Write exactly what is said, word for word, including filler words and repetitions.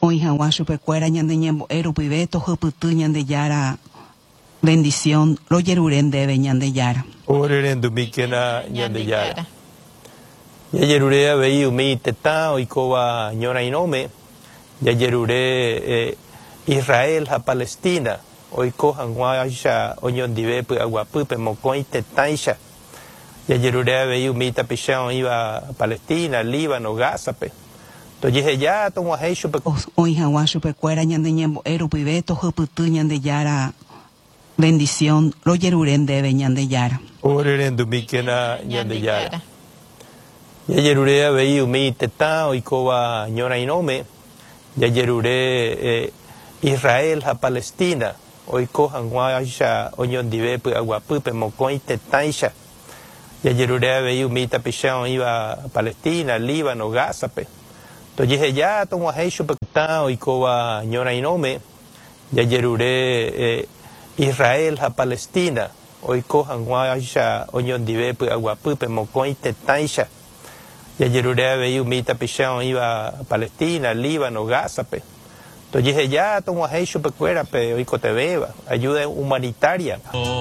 Oĩ hag̃ua chupekuéra ñane ñembo'e rupive tohupyty Ñandejára bendición rojerure ndéve Ñandejára. Orerendumíkena Ñandejára. Jajerure avei umi tetã oikóva ñorairõme, jajerure eh, Israel ha Palestina oiko hag̃uáicha oñondive py'aguapýpe mokõi tetãicha. Jajerure avei umi tapicha oĩva Palestina, Líbano, Gazape. Tojeheja tog̃uahẽ chupe. Oĩ hag̃ua chupekuéra ñane ñembo'e rupive tohupyty Ñandejára bendición rojerure ndéve Ñandejára. Orerendumíkena Ñandejára. Jajerure avei umi tetã oikóva ñorairõme, jajerure eh, Israel ha Palestina oiko hag̃uáicha oñondive py'aguapýpe mokõi tetãicha. Jajerure avei umi tapicha oĩva Palestina, Líbano, Gazape. Tojeheja tog̃uahẽ chupe tetã oikóva ñorairõme, jajerure eh, Israel ha Palestina oiko hag̃uáicha oñondive py'aguapýpe mokõi tetãicha. Jajerure avei umi tapicha oĩva Palestina, Líbano, Gazape. Tojeheja tog̃uahẽ chupekuérape oikotevẽva, ayuda humanitaria.